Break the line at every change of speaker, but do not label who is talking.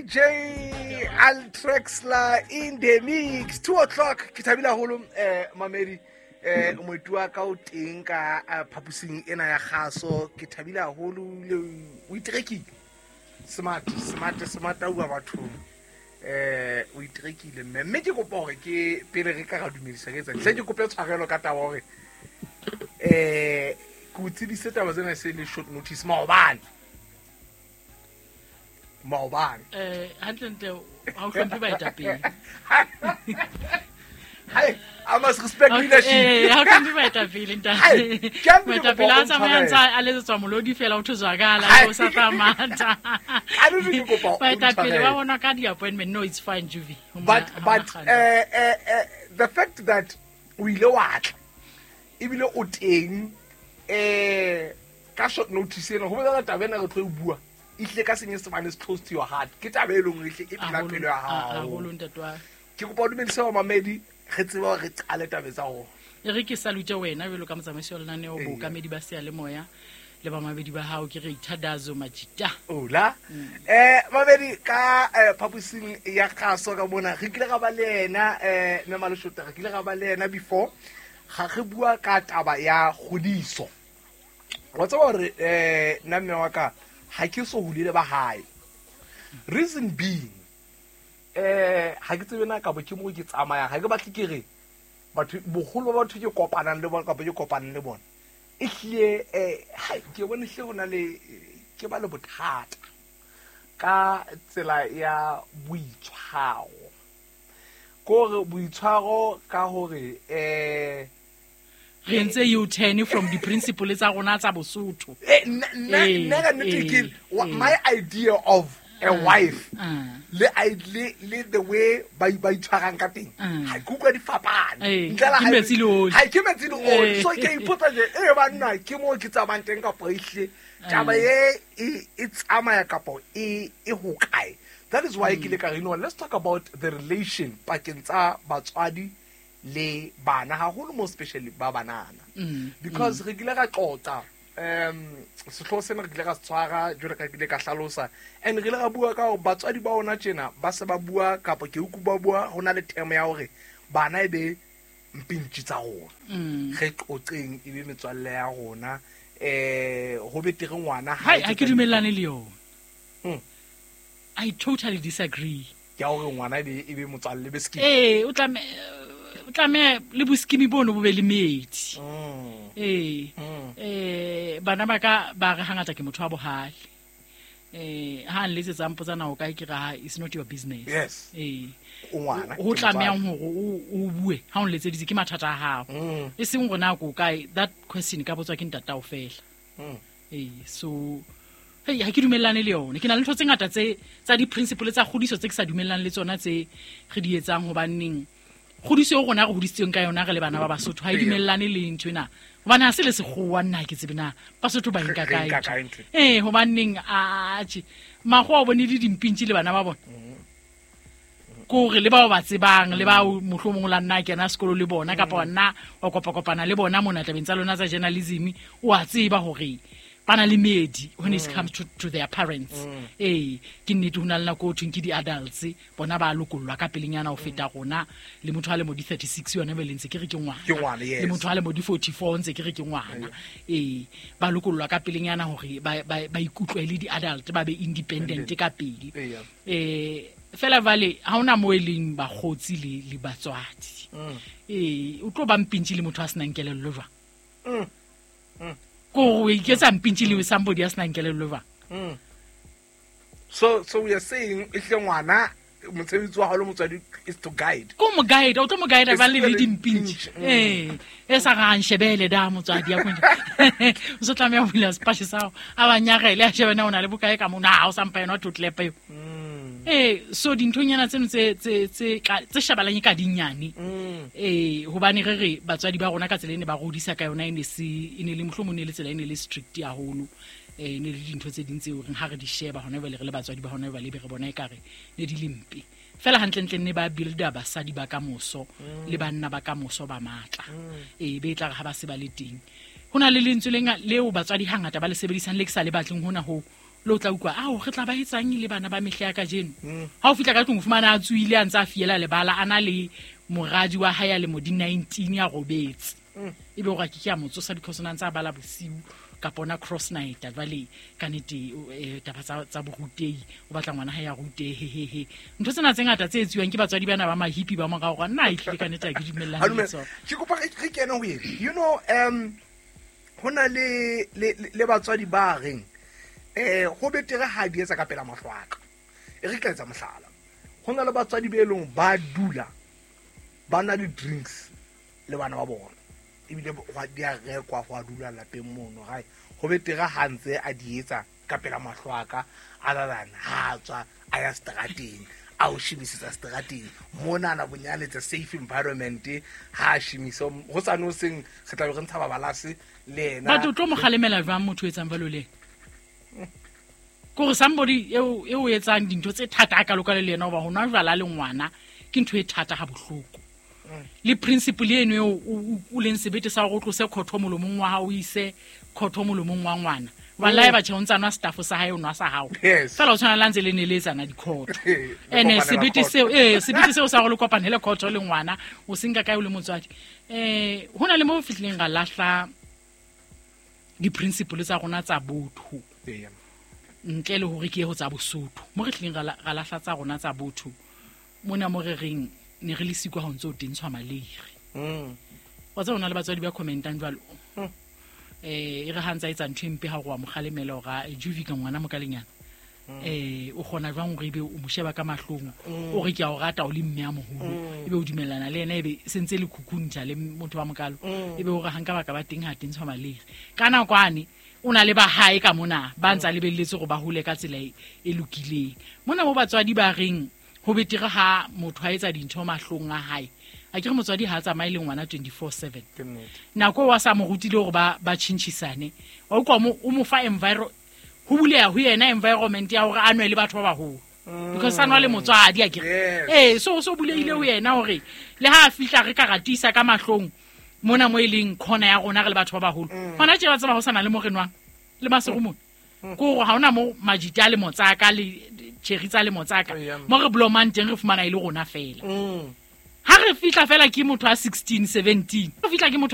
DJ Altrexler in the mix. 2 o'clock ke thabile haholo mamedi moeti wa ka o teng ka phapusing ena ya kgaso. Ke thabile haholo le o iterekile. Smart smart smart a bua bathong. O iterekile mme ke kopa hore ke pele re ka ra dumedisa ke etsa. Hle ke kope tshwarelo ka taba hore ke o tsebise taba tsena se le short notice maobane.
Hantlentle ha o hlomphe baetapele.
Hai, I must respect leadership.
Ha o hlomphe baetapele ntate. Moetapele a tsamayang tsa a letsetswa molodi fela o thozwakala o sa tla matha. Baetapele ba bona ka di-appointment. No, it's fine, Juvi.
But the fact that o ile wa tla ebile o teng ka short notice ena ho bolela taba ena re tlo e bua e tlile ka senyesemane is close to your heart. Ke taba e leng hore e phela pelo ya hao. Ke kopa o dumedise bamamedi re tsebe hore re qale taba tsa rona.
E re ke salute wena jwalo ka motsamaisi wa lenaneo bookamedi ba seyalemoya le bamamedi ba hao. Ke re Ithadazo Majita.
Ola. Mamedi ka phapusing ya kgaso ka mona re kile ra ba le yena mme Maleshota, re kile ra ba le yena before ga re bua ka taba ya kgodiso. Wa tseba hore nna mme wa ka ha ke so hulele ba hae. Reason being ha ke tsebe na kapa ke mo ke tsamayang, ha ke batle ke re batho boholo ba batho ke kopanang le bona kapa ke kopanang le bona e hlile ke bone hle ho na le ke ba le bothata ka tsela ya boitshwaro. Kore boitshwaro ka hore
re entse U-turn from the principle tsa rona tsa Bosotho.
Nna ka nnete ke my idea of a wife le the way ba itshwarang ka teng ha ke utlwa di fapane.
Ntle le metsi le oli.
Ha ke metsi le oli. So ke ipotsa je banna ke mo ke tsamayang teng kapa ehle taba e tsamaya kapa e ho kae. That is why ke le ka re, no, let's talk about the relation pakeng tsa batswadi le bana haholo, more especially ba banana. Because re kile ra qoqa sehlooho sena re kile ra se tshwara jwalo ka kile ka hlalosa, and re ile ra bua ka hore batswadi ba ona tjena ba se ba bua kapa ke utlwa ba bua ho na le term ya hore bana e be mpintshi tsa rona. Re qoqeng e be metswalle ya rona, ho betere ngwana
ha ke dumellane le yona. I totally disagree.
Ke hore ngwana e be motswalle be skimi.
O tlameha le boskimi bono bo be le metsi. Bana ba ka ba re hangata ke motho wa bohale. Ha nletsetsa mpotsa na o kae, ke re it's not your business.
Yes. O ngwana.
Ho tlamehang hore o bue ha o nletseditse ke mathata a hao. E seng hore na ko kae, that question ka botswa ke ntatao fela. So hey, ha ke dumellane le yona. Ke na le ntho tse ngata tse tsa di-principle tsa kgodiso tse ke sa dumellang le tsona tse re di etsang, hobaneng kgodiso eo rona re hodisitsweng ka yona re le bana ba Basotho ha e dumellane le ntho ena. Hobane ha se le sekgowa nna ke tsebe na Basotho ba nka kae. Hobaneng atjhe makgowa o bone le dimpintshi le bana ba bona. Kore le bao ba tsebang le bao mohlomong la nna kena sekolo le bona kapa nna wa kopakopana le bona mona tabeng tsa lona tsa journalism, o a tseba hore bana le medi when it comes to their parents. Ke nnete ho na le nako ho thweng ke di-adults bona ba lokollwa ka pelenyana ho feta rona. Le motho a le mo di-36 yona be le ntse ke re ke ngwana. Le motho a le mo di-44 ntse ke re ke ngwana. Ba lokollwa ka pelenyana hore ba ikutlwe le di-adult, ba be independent ka pele. Fela vale ha hona mo e leng bakgotsi le batswadi. O tlo ba mpintshi le motho a senang kelello jwang? Ko o iketsa mpintshi le somebody a senang kelello jwang?
So we are saying ehle ngwana mosebetsi wa hao le motswadi is to guide.
Ko mo guide, o tlo mo guide ba le dimpintshi. E sa ga nshebele da motswadi ya konje. O se tlameha ho bula sepatjhe sa hao, a ba nyarele a shebe na o na le bokae ka mona, ha o sa mpa yona totlepa eo. So dinthonyana tseno tse shabalang ka dinyane. Hobane re re batswadi ba rona ka tsela e ne ba rodisa ka yona e ne se e ne le mohlomong ne le tsela e ne le strict haholo. Ne le dintho tse ding tseo reng ha re di sheba hona jwale re le batswadi ba hona jwale be re bona ekare ne di le mpe. Fela hantlentle ne ba builda basadi ba kamoso le banna ba kamoso ba matla. Be tla re ha ba se ba le teng. Ho na le lentswe leo batswadi hangata ba le sebedisang le ke sa le batleng hona ho Le o tla utlwa ao re tla ba etsang le bana ba mehla ya kajeno. Ha o fihla ka tlung o fumana a tsohile a ntse a fiela lebala a na le moradi wa hae a lemo di 19 a robetse. Ebe hore a ke ke a mo tsosa because o na ntse a bala bosiu kapa ona cross night. Jwale ka nnete taba tsa borutehi, o batla ngwana hae a rutehe he he. Ntho tsena tse ngata tse etsuwang ke batswadi bana ba mahipi ba morao hore nna ehlile ka nnete ha ke dumellane le tsona.
Ke kopa re kene ho ena. You know, ho na le batswadi ba reng ho betere ha di etsa ka pela mahlo a ka. E re tla etsa mohlala. Ho na le batswadi be leng ba dula ba na le drinks le bana ba bona. Ebile hwa di a rekwa ho a dula lapeng mono gae. Ho betere ha ntse a di etsa ka pela mahlo a ka, a lalana, ha a tswa a ya strateng, a o shemisetsa strateng. Monana bonyane it's a safe environment, ha a shemise ho sa no seng re tla be re ntsha babalase le yena.
Batho tlo mo kgalemela jwang motho o etsang jwalo le ena? Kore somebody eo etsang dintho tse thata a kalo-kalo le yena hoba ho nwa jwala le ngwana ke ntho e thata ha bohloko. Le principle eno eo o leng sebete sa hore o tlose khotho molomong wa hao, o ise khotho molomong wa ngwana. Wallahi batjha o ntsa nwa staff sa hae, o nwa sa hao. Feela o tshwana le ha ntse le neletsana dikhotho.
Le
Ene
kopanela
sebete
khotho.
seo, sebete seo sa hore le kopanele khotho le ngwana, o se nka kae o le motswadi. Ho na le mo fihlileng ra lahla di-principle tsa rona tsa botho. Ntle le hore ke ye ho tsa Bosotho. Mo re tlileng ra lahla tsa rona tsa botho, mona mo re reng ne re le siko ha o ntse o tentshwa maleire. Wa tseba ho na le batswadi ba commentang jwalo. E re ha ntse a etsa ntho e mpe ha o re wa mo kgalemela hore a, Juvi ka ngwana mo ka lenyana. O kgona jwang hore ebe o mo sheba ka mahlong, o re ke a o rata o le mme a moholo, ebe o dumellana le yena, ebe se ntse le khukhuntsha le motho wa mokalo, ebe o re ha nka baka ba teng ha tentshwa maleire. Ka nako ane o na le ba hae ka mona ba ntsa lebelletse hore ba hole ka tsela e lokileng. Mona mo batswadi ba reng ho betere ha motho a etsa dintho mahlong a hae. A ke re motswadi ha a tsamaye le ngwana 24/7.
Ke nnete.
Nako wa sa mo rutile hore ba tjhentjhisane. Wa utlwa o mo fa ho buleha ho yena environment ya hore a nwe le batho ba baholo. Because a nwa le motswadi, a ke re. So bulehile ho yena hore le ha a fihla re ka ratisa ka mahlong mona mo e leng corner ya rona re le batho ba baholo. Hona tje ba tseba ho sana le mo re nwang le Maseru mona. Ke hore ha hona mo majita le motsaka le cherry tsa le motsaka. Mo re blomang teng re fumana e le rona fela. Ha re fihla fela ke motho a 16, 17. Re fihla ke motho